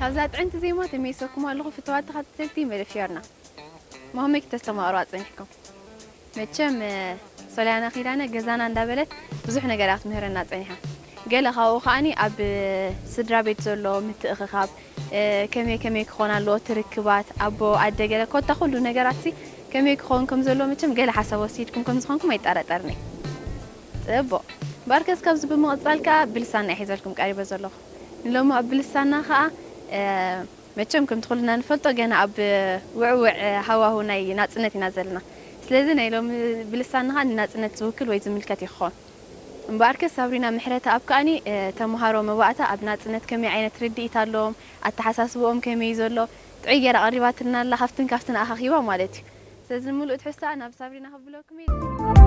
ኣብዛ ጥዕምቲ ዜማ ተመይሰኩም ኣለኹ ፍትዋት ተኸታተልቲ መደብ ፊዮርና። መሆመይ ክተስተማቕሩ ኣጸኒሕኩም። መቸም ሶልያና ኪዳነ ገዛና እንዳበለት ብዙሕ ነገር እያ ክትምህረና ጸኒሓ። ገለ ካብኡ ከዓኒ ኣብ ስድራ ቤት ዘሎ ምትእኽኻብ፣ ከመይ ከመይ ክኾን ኣለዎ ትርክባት ኣቦ ኣደ ገለ ኮታ ኩሉ ነገራት ሲ ከመይ ክኸውን ከም ዘለዎ መቸም ገለ ሓሳብ ወሲድኩም ከም ዝኾንኩም ኣይጠራጠርኒ። ጽቡቕ። እምበኣርከስ ካብዚ ብምቕጻል ከኣ ብልሳና እየ ሒዘልኩም ቀሪበ ዘለኹ። ንሎሚ ኣብ ብልሳና ከኣ መቸም ከምቲ ኩልና ንፈልጦ ገና ኣብ ውዕውዕ ሃዋሁ ናይ ናጽነት ኢና ዘለና። ስለዚ ናይ ሎሚ ብልሳና ከኣ ንናጽነት ዝውክል ወይ ዝምልከት እዩ ክኸውን። እምበኣርከስ ሳብሪና ምሕረተኣብ ከኣኒ ተምሃሮ መባእታ ኣብ ናጽነት ከመይ ዓይነት ርድኢት ኣለዎም፣ ኣተሓሳስብኦም ከመይ እዩ ዘሎ ጥዑይ ገይራ ኣቕሪባትልና ኣላ፣ ካብትን ካብትን ኣኻኺባ ማለት እዩ። ስለዚ ንምሉእ ትሕዝቶኣ ናብ ሳብሪና ከብለኩም እየ።